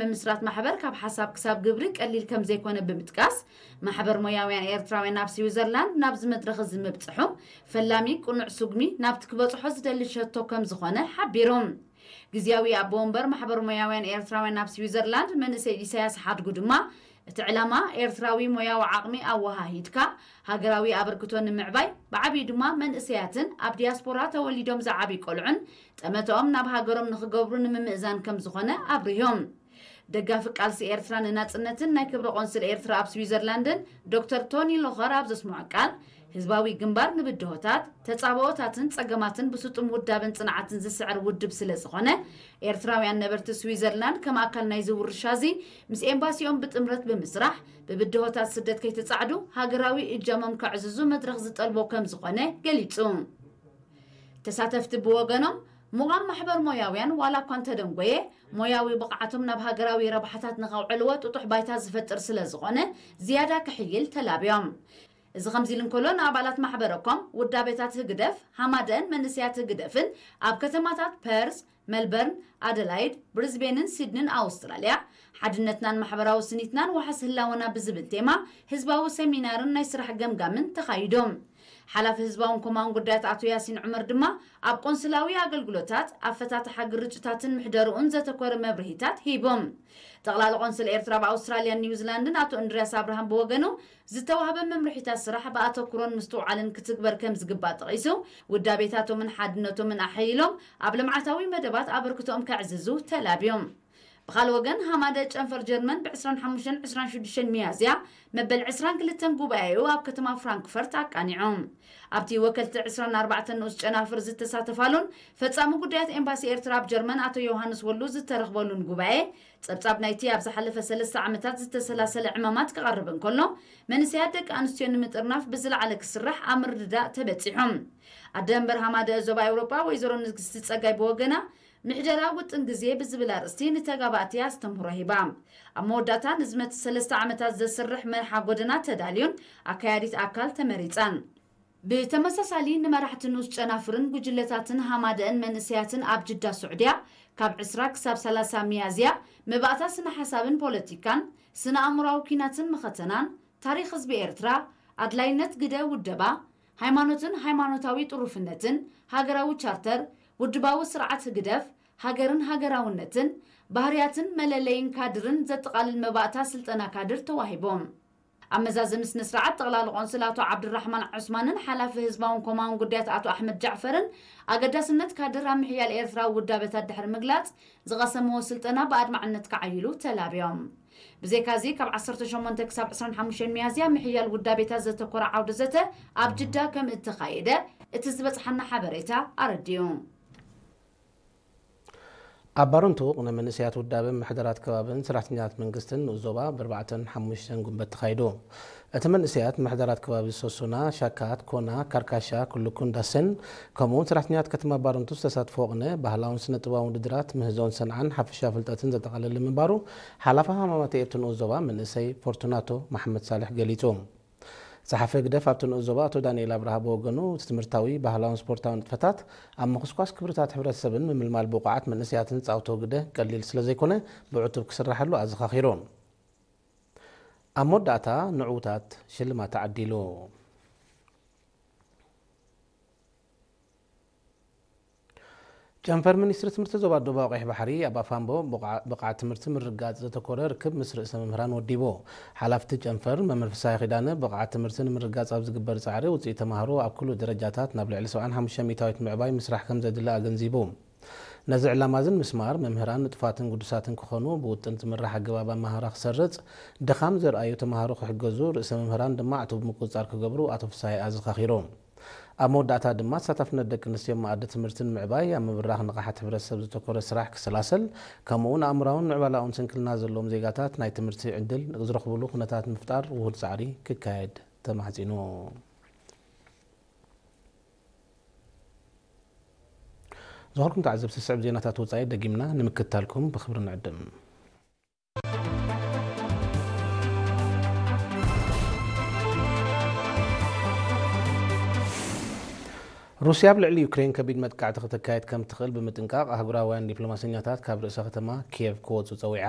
ምምስራት ማሕበር ካብ ሓሳብ ክሳብ ግብሪ ቀሊል ከም ዘይኮነ ብምጥቃስ፣ ማሕበር ሞያውያን ኤርትራውያን ኣብ ስዊዘርላንድ ናብዚ መድረኽ እዚ ምብጽሑ ፈላሚ ቅኑዕ ስጉሚ ናብቲ ክበጽሖ ዝደሊ ሸቶ ከም ዝኾነ ሓቢሩ። ግዝያዊ ኣቦ ወንበር ማሕበር ሞያውያን ኤርትራውያን ኣብ ስዊዘርላንድ መንእሰይ ኢሳያስ ሓድጉ ድማ፣ እቲ ዕላማ ኤርትራዊ ሞያዊ ዓቕሚ ኣወሃሂድካ ሃገራዊ ኣበርክቶ ንምዕባይ፣ ብዓብዩ ድማ መንእሰያትን ኣብ ዲያስፖራ ተወሊዶም ዝዓብዩ ቆልዑን ጠመተኦም ናብ ሃገሮም ንኽገብሩ ንምምእዛን ከም ዝኾነ ኣብሪሆም። ደጋፊ ቃልሲ ኤርትራ ንናጽነትን ናይ ክብሪ ቆንስል ኤርትራ ኣብ ስዊዘርላንድን ዶክተር ቶኒ ሎኸር ኣብ ዘስምዖ ቃል፣ ህዝባዊ ግንባር ንብድሆታት፣ ተጻብኦታትን ጸገማትን ብስጡም ውዳበን ጽንዓትን ዝስዕር ውድብ ስለ ዝኾነ፣ ኤርትራውያን ነበርቲ ስዊዘርላንድ ከም ኣካል ናይዚ ውርሻ እዚ ምስ ኤምባሲኦም ብጥምረት ብምስራሕ፣ ብብድሆታት ስደት ከይተጻዕዱ ሃገራዊ እጃሞም ከዕዝዙ መድረኽ ዝጠልቦ ከም ዝኾነ ገሊጹ። ተሳተፍቲ ብወገኖም፣ ምቋም ማሕበር ሞያውያን ዋላ እኳ እንተደንጎየ፣ ሞያዊ ብቕዓቶም ናብ ሃገራዊ ረብሓታት ንኸውዕልዎ ጥጡሕ ባይታ ዝፈጥር ስለ ዝኾነ፣ ዝያዳ ክሕይል ተላብዮም። እዚ ከምዚ ኢሉ እንከሎ፣ ንኣባላት ማሕበረኮም ውዳቤታት ህግደፍ፣ ሃማደን መንእሰያት ህግደፍን ኣብ ከተማታት ፐርስ፣ መልበርን፣ ኣደላይድ፣ ብሪዝቤንን ሲድንን ኣውስትራልያ፣ ሓድነትናን ማሕበራዊ ስኒትናን ዋሕስ ህላወና ብዝብል ቴማ ህዝባዊ ሰሚናርን ናይ ስራሕ ገምጋምን ተኻይዶም። ሓላፊ ህዝባውን ኮማውን ጉዳያት ኣቶ ያሲን ዑመር ድማ ኣብ ቆንስላዊ ኣገልግሎታት፣ ኣፈታትሓ ግርጭታትን ምሕደርኡን ዘተኮረ መብርሂታት ሂቦም። ጠቕላሊ ቆንስል ኤርትራ ኣብ ኣውስትራልያን ኒውዚላንድን ኣቶ እንድርያስ ኣብርሃም ብወገኑ፣ ዝተዋህበ መምርሒታት ስራሕ ብኣተኩሮን ምስትውዓልን ክትግበር ከም ዝግባእ ጠቒሱ፣ ውዳቤታቶምን ሓድነቶምን ኣሐይሎም ኣብ ልምዓታዊ መደባት ኣበርክቶኦም ከዕዝዙ ተላብዮም። ብኻልእ ወገን፣ ሃማደ ጨንፈር ጀርመን ብ ዕስራን ሓሙሽተን ዕስራን ሽዱሽተን ሚያዝያ መበል ዕስራን ክልተን ጉባኤኡ ኣብ ከተማ ፍራንክፈርት ኣቃኒዑ። ኣብቲ ወከልቲ ዕስራን ኣርባዕተን ንኡስ ጨናፍር ዝተሳተፋሉን ፈጻሚ ጉዳያት ኤምባሲ ኤርትራ ኣብ ጀርመን ኣቶ ዮሃንስ ወሉ ዝተረኽበሉን ጉባኤ፣ ጸብጻብ ናይቲ ኣብ ዝሓለፈ ሰለስተ ዓመታት ዝተሰላሰለ ዕማማት ክቐርብ እንከሎ፣ መንእሰያት ደቂ ኣንስትዮ ንምጥርናፍ ብዝለዓለ ክስራሕ ኣብ ምርድዳእ ተበጺሑ። ኣደ መንበር ሃማደ ዞባ ኤውሮጳ ወይዘሮ ንግስቲ ጸጋይ ብወገና፣ ምሕደራ ውጥን ግዜ ብዝብል ኣርእስቲ ንተጋባእቲ ኣስተምህሮ ሂባ። ኣብ መወዳእታ ንዝመጽእ ሰለስተ ዓመታት ዘስርሕ መርሓ ጎደና ተዳልዩን ኣካያዲት ኣካል ተመሪጻን። ብተመሳሳሊ ንመራሕቲ ንኡስ ጨናፍርን ጉጅለታትን ሃማደእን መንእሰያትን ኣብ ጅዳ ስዑድያ ካብ ዕስራ ክሳብ ሰላሳ ሚያዝያ መባእታ ስነ ሓሳብን ፖለቲካን፣ ስነ ኣእምሮኣዊ ኲናትን መኸተናን፣ ታሪኽ ህዝቢ ኤርትራ፣ ኣድላይነት ግደ ውደባ፣ ሃይማኖትን ሃይማኖታዊ ጥሩፍነትን፣ ሃገራዊ ቻርተር፣ ውድባዊ ስርዓት ህግደፍ፣ ሃገርን ሃገራውነትን፣ ባህርያትን መለለይን ካድርን ዘጠቓልል መባእታ ስልጠና ካድር ተዋሂቦም። ኣብ መዛዘሚ ስነ ስርዓት ጠቕላሊ ቆንስል ኣቶ ዓብዱራሕማን ዑስማንን ሓላፊ ህዝባውን ኮማውን ጉዳያት ኣቶ ኣሕመድ ጃዕፈርን ኣገዳስነት ካድር ኣብ ምሕያል ኤርትራዊ ውዳበታት ድሕሪ ምግላጽ፣ ዝቐሰምዎ ስልጠና ብኣድማዕነት ክዓይሉ ተላብዮም። ብዘይካዚ፣ ካብ ዓሰርተ ሸሞንተ ክሳብ ዕስራን ሓሙሽተን ሚያዝያ ምሕያል ውዳቤታት ዘተኮረ ዓውደ ዘተ ኣብ ጅዳ ከም እተኻየደ እቲ ዝበጽሓና ሓበሬታ ኣረዲኡ። ኣብ ባረንቱ ቅነ መንእሰያት ውዳበ ምሕደራት ከባብን ሰራሕተኛታት መንግስትን ንኡስ ዞባ ብኣርባዕተን ሓሙሽተን ጉንበት ተኻይዱ። እቲ መንእሰያት ምሕደራት ከባቢ ሶሱና፣ ሻካት፣ ኮና፣ ካርካሻ፣ ክልኩን ዳሰን፣ ከምኡውን ሰራሕተኛታት ከተማ ባረንቱ ዝተሳትፎ ቅነ ባህላውን ስነ ጥበባውን ውድድራት ምህዞን ሰንዓን ሓፈሻ ፍልጠትን ዘጠቓለለ ምንባሩ ሓላፊ ሃማማተ ኤርቱ ንኡስ ዞባ መንእሰይ ፎርቱናቶ መሓመድ ሳልሕ ገሊጹ። ጸሓፊ ህግደፍ ኣብቲ ንኡስ ዞባ ኣቶ ዳንኤል ኣብርሃ ብወገኑ፣ እቲ ትምህርታዊ፣ ባህላውን ስፖርታዊ ንጥፈታት ኣብ ምኹስኳስ ክብርታት ሕብረተሰብን ምምልማል ብቑዓት መንእሰያትን ዝጻወቶ ግደ ቀሊል ስለ ዘይኮነ፣ ብዕቱብ ክስራሓሉ ኣዘኻኺሩ። ኣብ መወዳእታ ንዕዉታት ሽልማት ተዓዲሉ። ጨንፈር ሚኒስትሪ ትምህርቲ ዞባ ደቡባዊ ቀይሕ ባሕሪ ኣብ ኣፋምቦ ብቕዓ-፣ ብቕዓት ትምህርቲ ምርግጋጽ ዘተኮረ ርክብ ምስ ርእሰ መምህራን ወዲቡ። ሓላፍቲ ጨንፈር መምህር ፍስሃየ ኪዳነ፣ ብቕዓት ትምህርቲ ንምርግጋጽ ኣብ ዝግበር ጻዕሪ ውጽኢት ተማሃሮ ኣብ ኩሉ ደረጃታት ናብ ልዕሊ ሰብዓን ሓሙሽተን ሚእታዊት ምዕባይ ምስራሕ ከም ዘድሊ ኣገንዚቡ። ነዚ ዕላማ እዚ ንምስማር መምህራን ንጡፋትን ግዱሳትን ክኾኑ፣ ብውጥን ዝምራሕ ኣገባብ ኣመሃህራ ክሰርጽ፣ ድኻም ዘርኣዩ ተማሃሮ ክሕገዙ፣ ርእሰ መምህራን ድማ ዕቱብ ምቁጽጻር ክገብሩ ኣቶ ፍስሃየ ኣዘኻኺሩ። ኣብ መወዳእታ ድማ ተሳታፍነት ደቂ ኣንስትዮ ኣብ መኣዲ ትምህርቲ ንምዕባይ ኣብ ምብራኽ ንቕሓት ሕብረተሰብ ዘተኮረ ስራሕ ክሰላሰል፣ ከምኡውን ኣእምራውን ምዕባላውን ስንክልና ዘለዎም ዜጋታት ናይ ትምህርቲ ዕድል ዝረኽብሉ ኩነታት ንምፍጣር ውሁድ ጻዕሪ ክካየድ ተማሕጺኑ። ዝኸበርኩም ተዓዘብቲ፣ ዝስዕብ ዜናታት ወጻኢ ደጊምና ንምክትታልኩም ብኽብሪ ንዕድም። ሩስያ ኣብ ልዕሊ ዩክሬን ከቢድ መጥቃዕቲ ከተካይድ ከም ትኽእል ብምጥንቃቕ፣ ኣህጉራውያን ዲፕሎማሰኛታት ካብ ርእሰ ከተማ ኪየቭ ክወጹ ጸዊዓ።